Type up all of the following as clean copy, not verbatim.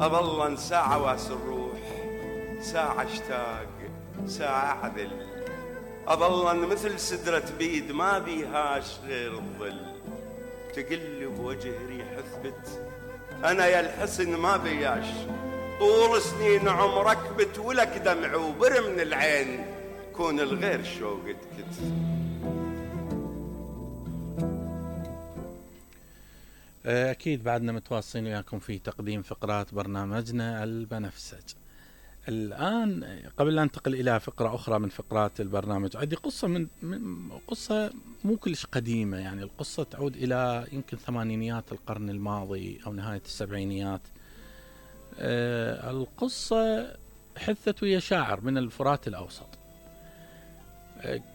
أظل ساعة واس الروح، ساعة اشتاق، ساعة عذل، أظل مثل سدرة بيد ما بيهاش غير الظل. تقلب وجه ريح اثبت، أنا يا الحسن ما بياش، طول سنين عمرك بتولك دمع وبر من العين، كون الغير شوق تكت. أكيد بعدنا متواصلين وياكم في تقديم فقرات برنامجنا البنفسج. الآن قبل أن ننتقل إلى فقرة أخرى من فقرات البرنامج، عندي قصة من قصة مو كلش قديمة، يعني القصة تعود إلى يمكن ثمانينيات القرن الماضي أو نهاية السبعينيات. القصة حثت ويا شاعر من الفرات الأوسط.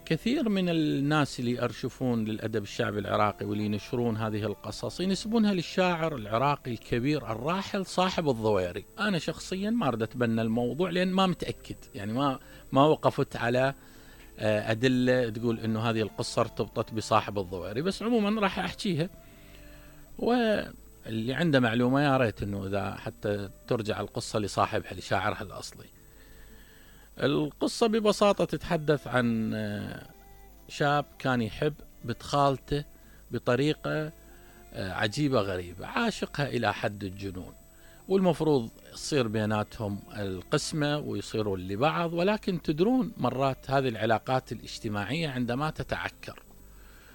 كثير من الناس اللي يرشفون للأدب الشعبي العراقي واللي ينشرون هذه القصص ينسبونها للشاعر العراقي الكبير الراحل صاحب الضويري. أنا شخصيا ما أريد أتبنى الموضوع لأن ما متأكد، يعني ما وقفت على أدلة تقول إنه هذه القصة ارتبطت بصاحب الضويري، بس عموما راح أحكيها، واللي عنده معلومة يا ريت إنه إذا حتى ترجع القصة لصاحبها لشاعرها الأصلي. القصة ببساطة تتحدث عن شاب كان يحب بنت خالته بطريقة عجيبة غريبة، عاشقها إلى حد الجنون، والمفروض يصير بيناتهم القسمة ويصيروا لبعض، ولكن تدرون مرات هذه العلاقات الاجتماعية عندما تتعكر،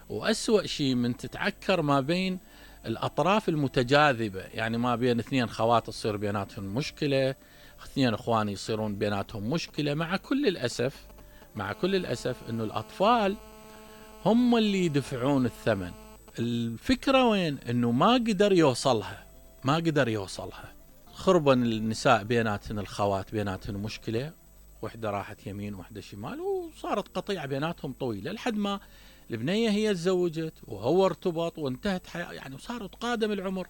وأسوأ شيء من تتعكر ما بين الأطراف المتجاذبة، يعني ما بين اثنين خوات تصير بيناتهم مشكلة، اثنين اخوان يصيرون بيناتهم مشكلة، مع كل الأسف انه الأطفال هم اللي يدفعون الثمن. الفكرة وين؟ انه ما قدر يوصلها. خربن النساء بيناتهن، الخوات بيناتهن مشكلة، وحدة راحت يمين وحدة شمال، وصارت قطيعة بيناتهم طويلة لحد ما البنية هي تزوجت وهو ارتبط وانتهت حياة، يعني وصارت قادم العمر.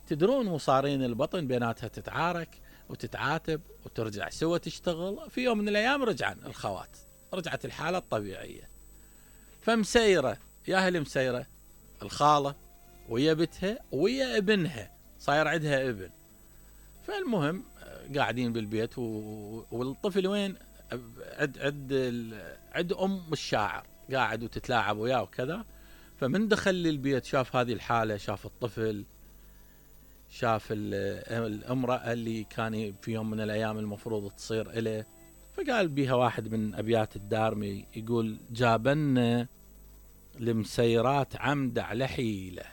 تدرون مصارين البطن بيناتها تتعارك وتتعاتب وترجع سوا تشتغل. في يوم من الأيام رجعت الحالة الطبيعية، فمسيرة يا أهل مسيرة الخالة ويا بنتها ويا ابنها، صاير عندها ابن. فالمهم قاعدين بالبيت والطفل وين؟ عد أم الشاعر قاعد وتتلاعب وياه وكذا. فمن دخل للبيت شاف هذه الحالة، شاف الطفل، شاف الامرأة اللي كان في يوم من الأيام المفروض تصير إليه، فقال بيها واحد من أبيات الدارمي يقول: جابن المسيرات عمد على حيلة،